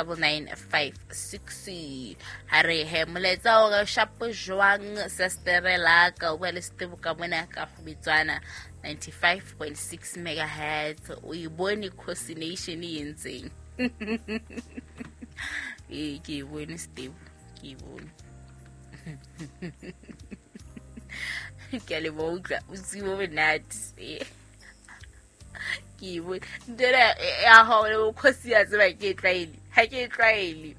9956. Ha re he molaetsa o re shapo jwang sestere la ka o bua le Setebo ka mona ka Kgobetswana 95.6 megahertz. O e bone coordination e entseng? Ee, ke e bone Setebo, ke e bone. Ke a leboha, utlwa bosiu bo monate. Ee, ke e bone ntho ena ya hao le bokgosi, ya tseba ke e tlwaele, ha ke e tlwaele.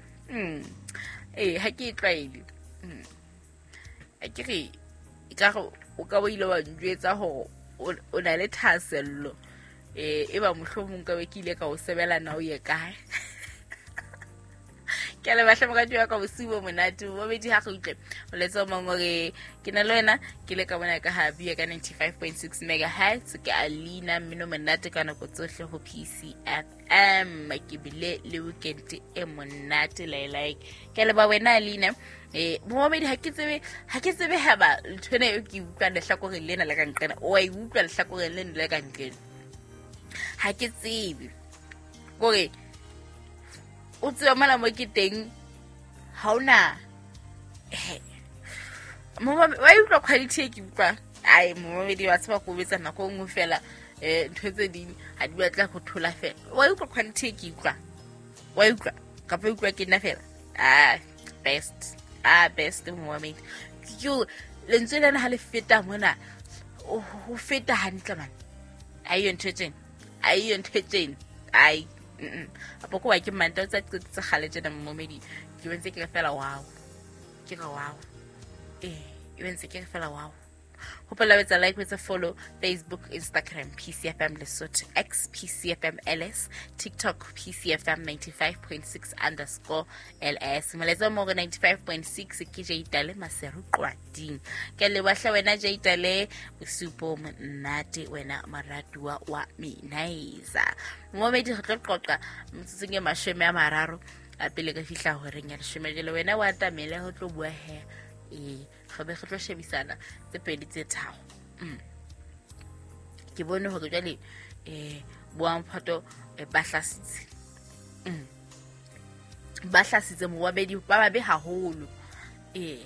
Ee, ha ke e tlwaele. A ke re e ka re o ka bo ile wa njwetsa hore o na le thahasello, e ba mohlomong ka be ke ile ka o sebela na o ye kae. Ke a leboha hle morati wa ka, bosiu bo monate. Bobedi ha re utlwe molaetsa o mong o re ke na le wena ke le ka mona ka ha bua ka 95.6 megahertz. Ke Alina, mmino monate ka nako tsohle ho PCFM. Ke bile le weekend e monate like. Ke a leboha wena Alina. Momamedi, ha ke tsebe, ha ke tsebe haba ntho ena eo ke e utlwang lehlakoreng lena le ka nqena, o a e utlwa lehlakoreng lena le ka nqena. Ha ke tsebe kore o tseba mona mo ke teng ha ona wa e utlwa quality e ke utlwang. Ai, momamedi, wa tseba ko betsa nako e nngwe fela, ntho tse ding ha di batla go thola fela. Wa utlwa quality e ke utlwang? Wa utlwa kapa e utlwa ke nna fela? Ah, best, ah, best momamedi. Ke lentswe lena ha le feta mona ho feta hantle man. Ha iyo ntho e tjena, ha iyo ntho e tjena. Ai, apo ko wa ke manta o tsa qetetse kgale tjena momamedi. Ke bentse ke re fela wow, ke re wow. Ee, e bentse ke re fela wow. Hopola o etsa like, o etsa follow Facebook, Instagram PCFM Lesotho, X PCFM LS, TikTok PCFM 95.6 underscore LS. Molaetsa mo re 95.6 ke Jaitale Maseru Qwading. Ke leboha hle wena Jaitale, bosiu bo monate wena moratuwa wa Minaiza. Momedi, re tlo qoqa metsotsong e 30 a pele re fihla horeng ya 10. Jwale wena wa atamele ho tlo bua he. Ee, re be re tlo shebisana tse pedi tse tharo. Ke bone hore jwale boamphato ba hlasitse. Ba hlasitse mowabedi ba babe haholo. Ee,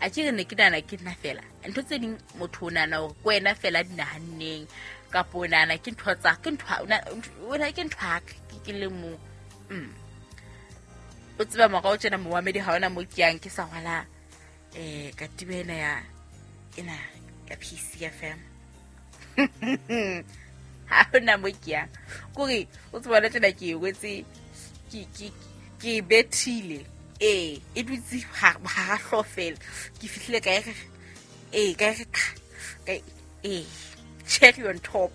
a ke re ne ke nahana ke nna fela. Ntho tse ding motho o nahana hore ke wena fela di nahanneng, kapa o nahana ke ntho tsa, ke ntho, o na, ke ntho ya ka, ke le mong. O tseba morao tjena mowamedi ha ona mo ke yang ke sa rwala katiba ena ya ena ya PCFM. Ha hona mo ke yang. Kore o tseba le tjena ke e wetse, ke e bethile. Ee, e dutse hara hlooho fela. Ke fihlile ka e re, ee, ka e re qha, ka e, ee, cherry on top.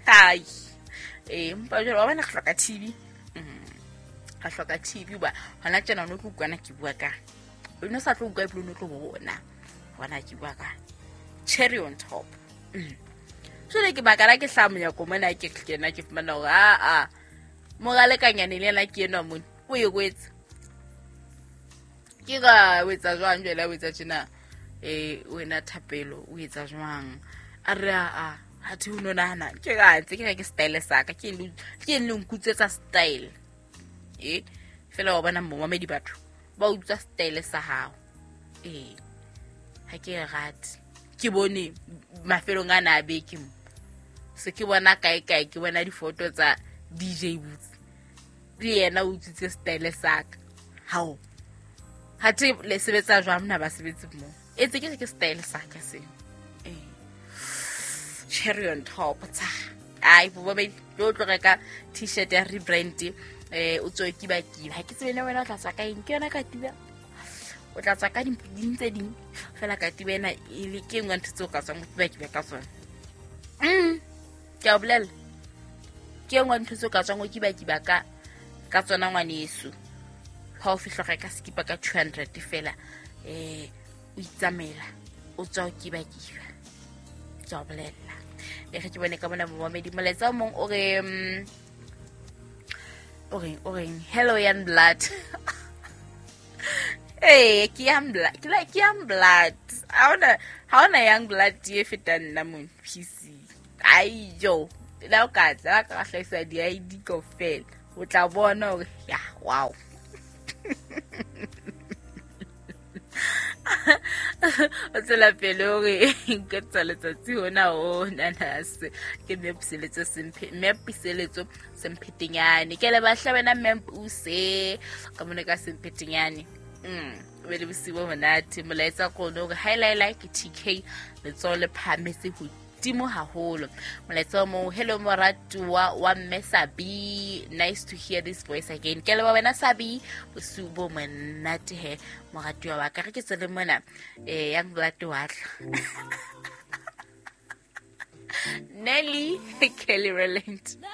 Hai. Ee, empa jwale wa bona re hloka TV. Re hloka TV hoba hona tjena o no tlo utlwana ke bua ka. O no sa tlo utlwa ebile o no tlo bona. Bona ke bua ka. Cherry on top. Jwale ke baka la ke hlaha monyako mona ke kena ke fumana hore a a moralekanyane le yena ke enwa mona. O e kwetse. Ke ka o etsa jwang jwale, o etsa tjena? Wena Thapelo o etsa jwang? A re a a ha thi o no nahana ke ka ntse ke re ke style sa ka, ke le ke le nkutswetsa style. Fela wa bona momamedi batho ba utswa style sa hao. Ha ke e rate. Ke bone mafelong a na a beke mo. Se ke bona kae kae, ke bona difoto tsa DJ Boots. Le yena o utswitse style sa ka. Hao. Ha the le sebetsa jwang mna ba sebetse mo? E tse ke re ke style sa ka seo. Cherry on top tsa. Ai, bo ba tlo tlo reka t-shirt ya rebrand, o tswe ke ba kiba. Ha ke tsebe le wena o tla tswa ka eng, ke yona katiba. O tla tswa ka ding tse ding fela katiba ena e le ke nngwe ntho tseo ka tswang o kiba kiba ka tsona. Ke a o bolella. Ke nngwe ntho tseo ka tswang o kiba kiba ka tsona ngwaneso. Ha o fihla reka skipa ka 200 fela, o itsamaela, o tswa o kiba kiba. Ke a o bolella. E re ke bone ka mona momamedi molaetsa o mong o re, o reng, o reng, hello young blood. Ee, ke young blood, ke la, ke young blood. Ha hona, ha hona young blood e fetang nna mo PC. Ai jo, la o ka tla, la ka hlahisa di ID kaofela. O tla bona hore ya wow. O tswela pele hore nka tsa letsatsi hona o nanase ke mme Puseletso Semphe, mme Puseletso Semphetenyane. Ke le bahla wena mme Puse ka mona ka Semphetenyane. O be le bosiu bo monate. Molaetsa ko one hore haelaela ke TK, letsoho le phahametse hodimo haholo. Molaetsa o mong, hello moratuwa wa mme Sabi, nice to hear this voice again. Ke leboha wena Sabi, bosiu bo monate he moratuwa wa ka. Re ke tswele mona Young Blood wa tla. Nelly Kelly Rowland.